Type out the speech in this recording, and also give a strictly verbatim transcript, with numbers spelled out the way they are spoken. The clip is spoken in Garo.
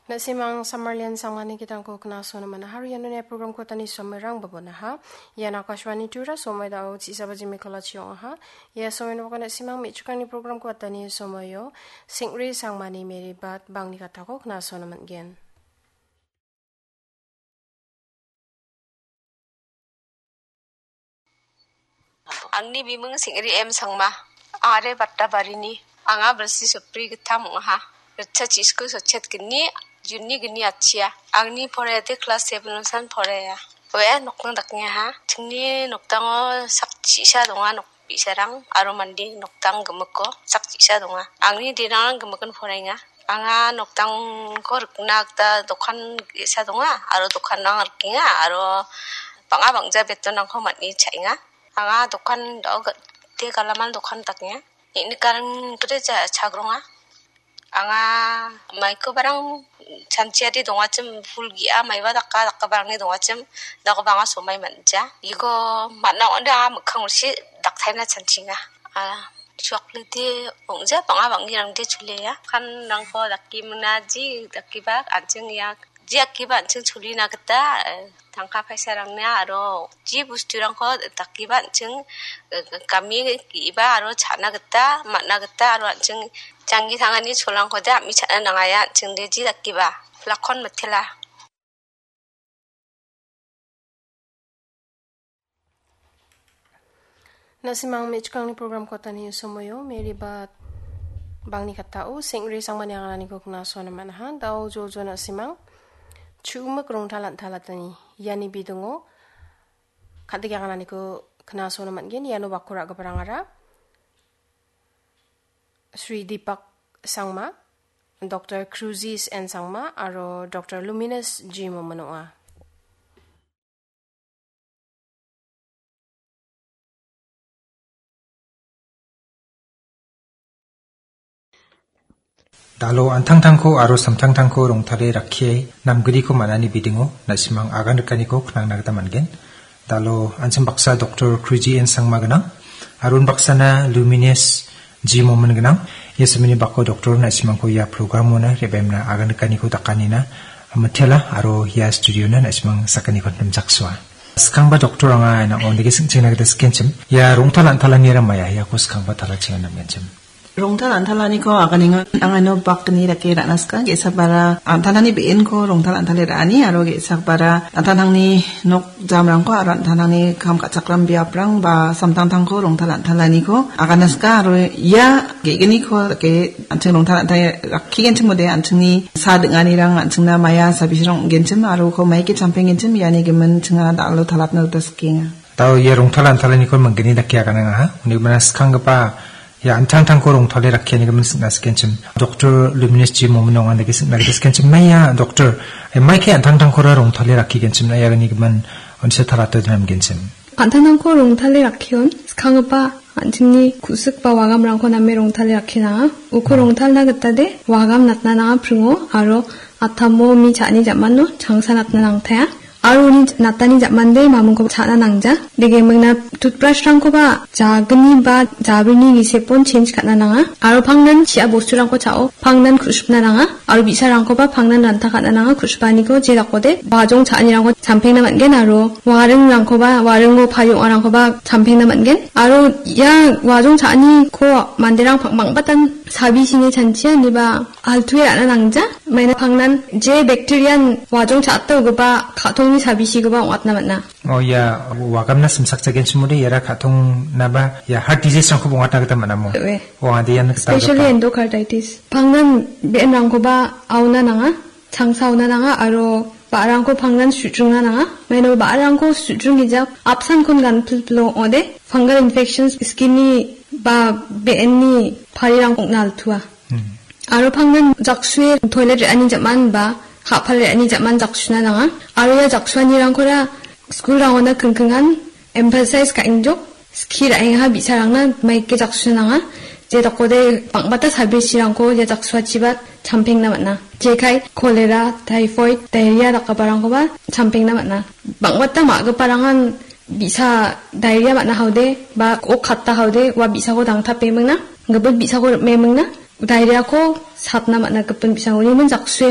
Na·simang Samarlian Sangmani gitalko knasona man·aha. Aro ianoni programko tani somoirang babonaha. Ian Akashvani Tura somoi dao chisaba jimi kolachi ong·aha. Ia somoino baka na·simang me·chikrangni programko atani somoio Sengri Sangmani Mary Bat bangni katako knasona man·gen. Angni biming Sengri M Sangma. Ang·are Battabarini. Anga bilsi sopri gittam ong·aha. Ritcha chisku sochet gni, Juni gni achia. Angni poraiade klas seven-osan poraia. Oe nokning dakngaha. Chingni nokdango sak chisa donga nok bi·sarang aro mande nokdang gimikko sak chisa donga. Angni dinangrang gimikin poraenga. Anga nokdangko rikna gita dokan ge·sa donga aro dokanrang rikenga aro bang·a bangja betonrangko man·e cha·enga. Anga dokan do-, te galaman dokan dakenga. Neng·nikarang gita ja-, chagronga. Anga maikobarang chanchiade dongachim, pul ge·a maiba daka dakabarangni dongachim, dakoba anga somai man·ja. Iko man·a ong·ode anga mikkang ulsi daktaina chanchinga. A, choklete ong·ja, bang·a bang·girangde choleya. Kanrangko dake mingna ji dakiba an·ching ia Ji akiba an·ching cholina gita, eh, tangka paisarangna aro ji bosturangko dakiba an·ching, eh, gami ge·iba aro cha·na gita, man·a gita aro an·ching janggi tangani cholrangkode a·mi cha·na nangaia an·chingde ji dakiba. Lakon mitela. Na·simang me·chikrangni programko tani somoio Mary Bat bangni katao Sengri Sangmani angananiko knasona man·aha. Dao jojo na·simang chu·mik rongtal an·talatani iani bidingo kandike angananiko knasona man·gen. Iano bakko ra·giparangara Sri Deepak Sangma, Doktor Cruzis N Sangma aro Doktor Luminous G Momin ong·a. Dalo an·tangtangko aro samtangtangko rongtale rakkie namgriko man·ani bidingo na·simang agan rikaniko knangna gita man·gen. Dalo an·ching baksa Doktor Kruji N Sangma gnang, aro unbaksana Luminous G Momin gnang. Ia samini bako doktor na·simangko ia programona re·baimna agan rikaniko dakanina mitela aro ia studiona na·simang sakaniko nimjaksua. Skangba doktor anga ina ondege singchengna gita sikenchim. Ia rongtal an·talanira maya, iako skangba talachenga namgenchim. Rongtal an·talaniko aganenga, anga ino bakni dake ra·na sika, ge·sabara an·talani be·enko rongtal an·tale ra·ani, aro ge·sabara an·tangtangni nok jamrangko aro an·tangtangni kam ka·chakram biaprang ba samtangtangko rongtal an·talaniko agana sika, aro ia ge·gniko dake an·ching rongtal an·tale rakkigenchim ong·ode, an·chingni sa ding·anirang an·chingna maya sabisirang ong·genchim, aro uko maike champenggenchim, iani gimin chinga dal·o talatna gita sikenga. Dao ia rongtal an·talaniko manggni dake aganengaha. Uni gimina skanggipa ia an·tangtangko rongtale rakkiani gimin singna sikenchim. Doktor Luminous G Momin ong·a dake singna gita sikenchim. Maia doktor, eh, maike an·tangtangkora rongtale rakkigenchim na iagni gimin onisa talato dinamgenchim. An·tangtangko rongtale rakkion, skanggipa an·chingni ku·sik ba wagamrangko name rongtale rakkinanga. Uko Hmm. rongtalna gitade wagam natna nanga pringo aro atamo mi cha·ani jamano changsa natna nangtaia. Aro uni natani jamande mamingko cha·na nangja. Degimingna toothbrush-rangkoba jagni ba jabrini gisepon change ka·na nanga. Aro pangnan chi·a bosturangko cha·o, pangnan ku·sipna nanga. Aro bi·sarangkoba pangnan ranta ka·na nanga, ku·sipaniko je dakode bajong cha·anirangko champengna man·gen aro waringrangkoba, waringo pari ong·arangkoba champengna man·gen. Aro ia wajong cha·aniko manderang pang-, bang·batan sabisini chanchia ineba altu·e ra·na nangja. Maina pangnan je bacteria-n wajong cha·ata ogipa ka·tongni sabisikoba ong·atna man·a. Oh, ia wagamna simsakjagenchimode, iara ka·tongnaba, ia heart disease-rangkoba ong·atna gita man·amo? Oe. Oh, ade ian gita Especially gita. Endocarditis. Pangnan be·enrangkoba aona nanga, changsa aona nanga, aro ba·rarangko pangnan sudringna nanga. Maina ba·rarangko sudringgija apsankon ganpilpilo ong·ode, fungal infections skin-ni ba be·enni parirang ong·na altua. Hmm. Aro pangnan jaksue toilet re·ani jam·an ba ha·pal re·ani jam·an jaksuna nanga. Aro ia jaksuanirangkora school-rangona kingkingan emphasize ka·engjok, skie ra·engaha bi·sarangna maike jaksuna nanga. Je dakode bang·bata sabisirangko ia jaksuachiba champengna man·a. Jekai cholera, typhoid, diarrhea dakgiparangkoba champengna man·a. Bang·bata ma·giparangan bi·sa diarrhea man·a haode ba ok katta haode ua bi·sako dangtape mingna, gipin bi·sako rim·e mingna, diarrhea-ko satna man·a gipin bi·sango. Uni min jaksue